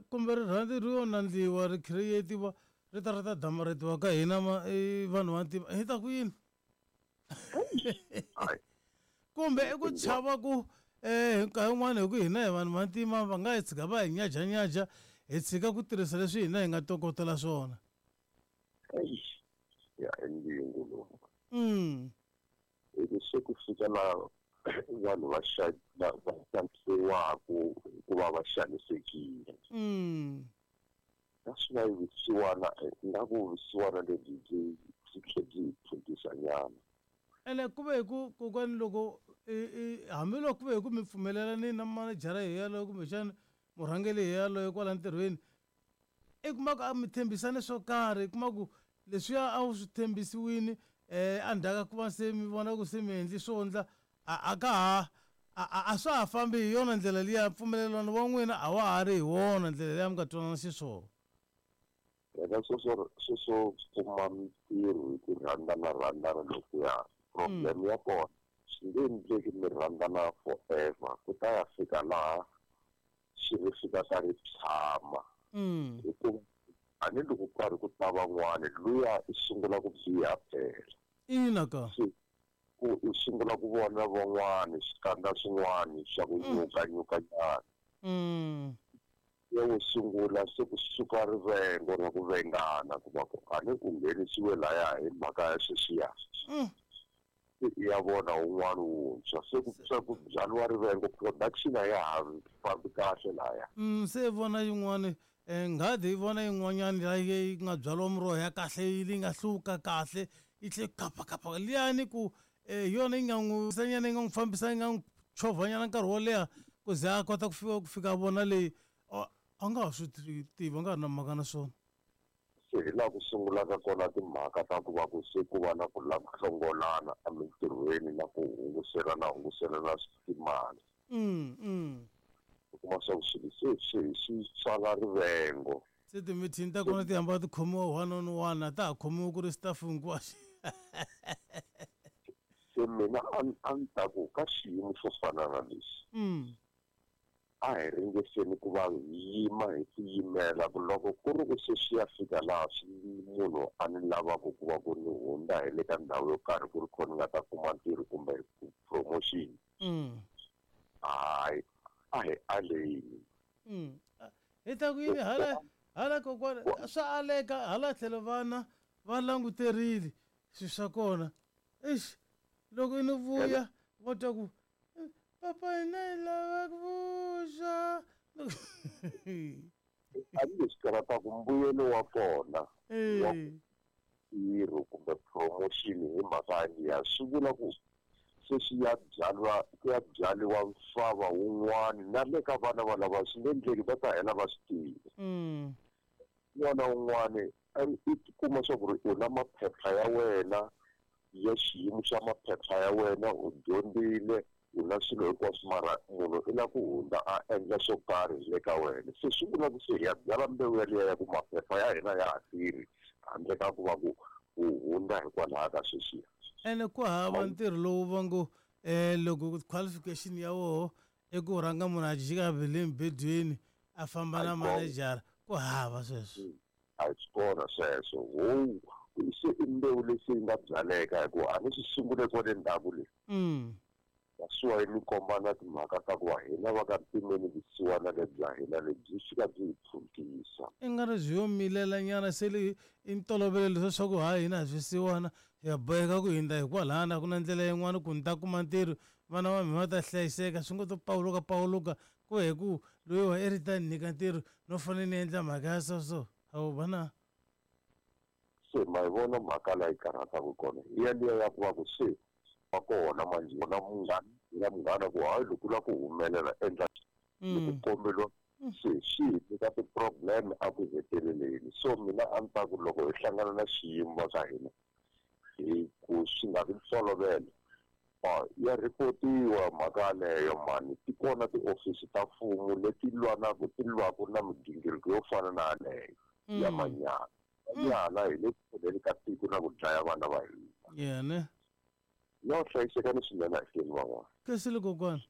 Kumbe rirhandzu ri yo nandziwa ri create-iwa ri ta ri ta damarhetiwa ka hina vanhu va ntima hi ta ku yini? Kumbe i ku chava ku hi nkarhi wun'wani hi ku hina hi vanhu va ntima va nga hi tshika va hi nyajanyaja hi tshika ku tirhisa leswi hina hi nga tokotela swona. Ya i ndzingo lowu. Hi se ku fika laha vanhu va va va xanisiwaku hikuva va xanisekile. That's why vusiwana ingaku vusiwana lebyi byi byi tlhe byi hi phuntisa nyana. Ene ku ve hi ku kokwani loko hambiloko ku ve hi ku mi pfumelelanini na manejara hi yaloye kumbexana murhangeri hi yaloye kwala ntirhweni i kuma ku a mi tshembisane swo karhi i kuma ku leswiya a wu swi tshembisiwini endzhaku ka ku va se mi vona ku se mi endli swo ndla a ka ha a swa ha fambi hi yona ndlela liya mpfumelelano wa n'wina a wa ha ri hi wona ndlela liya mi nga twanana xiswona. Phela sweswo sweswo kuma mintirho hi ku rhandzana rhandzana lokuya problem ya kona swi nge endleki mi rhandzana forever ku ta ya fika laha xi ri fikaka ri tshama hikuva a ni loko karhi ku ta van'wani luya i sungula ku biha phela. Ina ka. Se ku u sungula ku vona van'wani swikandza swin'wani swa ku nyuka nyuka nyana. Ya wo sungula se ku suka rivengo ra ku vengana ku va ku a ni u nghenisiwe laya hi mhaka ya sweswiya. Se i ya vona wun'wana wuntshwa se ku se ku byariwa rivengo production a ya ha fambi kahle laya. Se vona yin'wani nghadi yi vona yin'wanyani la yi nga byariwa miroho ya kahle leyi nga hluka kahle yi tlhe kapakapa liyani ku hi yona yi nga n'wi nyana yi nga n'wi fambisa yi nga n'wi chovhanyana nkarhi wo leha ku ze a kota ku fika ku fika a vona leyi a nga ha swi tivi a nga ha ri na mhaka na swona. Se hi laha ku sungulaka kona timhaka ta ku va ku se ku va na ku lava ku hlongolana emintirhweni na ku hunguselana hunguselana timali. U kuma swa ku swilo se swi swi tswala rivengo. Se timithini ta kona ti hamba ti khomiwa one on one a ta ha khomiwi ku ri staff hinkwaxo. Se mina a a ni ta ku ka xiyimo xo fana na lexi a hi ringeseni ku va hi yima hi tiyimela ku loko ku ri ku se swi ya fika laha swi munhu a ni lavaka ku va ku ni hundza hi le ka ndhawu yo karhi ku ri kho ni nga ta kuma ntirho kumbe promotion hayi a hi aleni. Hi ta ku yini hala hala kokwana swa aleka hala tlhelo vana va languterile swilo swa kona eish loko ni vuya va twa ku papa hina hi lava ku vuswa. Tanihi karataku mbuyelo wa kona wa ntirho kumbe promotion hi mhaka liya swi vula ku se swi ya byariwa ku ya byariwa mfava wun'wani na le ka vana valava swi nge endleki va ta hela va swi tiva. Un'wana na un'wani i tikuma swa ku ri u na maphepha ya wena ya xiyimo xa maphepha ya wena u dyondzile u na swilo hinkwaswo mara munhu i lava ku hundza a endla swo karhi le ka wena se swi vula ku se hi ya byala mbewu yaliya ya ku maphepha ya hina ya ha tirhi handle ka ku va ku u hundza hikwalaho ka sweswiya. Ene ku hava ntirho lowu va ngo loko qualification ya woho i ku rhanga munhu a jika le emubedweni a famba na manejara ku hava sweswo. A hi swi kona sweswo ho se i mbewu leyi se yi nga byaleka hikuva a ni swi sungule kwale ndzhaku le. That's why ni komba na timhaka ta ku va hina va ka Ntimeni vusiwana lebya hina lebyi fika byi hi phuntisa. I nga ri byi yo milela nyana se li i ntolovelo leswa swa ku ha hina hi swisiwana hi ya boheka ku hundza hikwalahani a ku na ndlela yin'wana ku ni ta kuma ntirho vana va mina va ta hlayiseka swi ngo to pawuluka pawuluka ku he ku loyiwa i ri ta ni nyika ntirho no fanele ni endla mhaka ya so so hawu vana. Se ma yi vona mhaka la yi karhataka kona hi yaliya ya ku va ku se va kona manjhe na munghana na munghana ku hayi loko u lava ku humelela endla loko komberiwa se swi hi nyika ti-problem a ku heteleleni so mina a ni ta ku loko hi hlangana na xiyimo va ka hina hi ku swi nga vi ntolovelo ya rhipotiwa mhaka yaleyo mani ti kona tiofisi ta mfumo leti lwanaka ti lwaka na migingiriko yo fana na yaleyo ya manyala manyala hi le ku pfuneni ka tiko na ku dlaya vana va hina. Yena. No hlayisekani swinene ahleni van'wana. Khensile kokwana.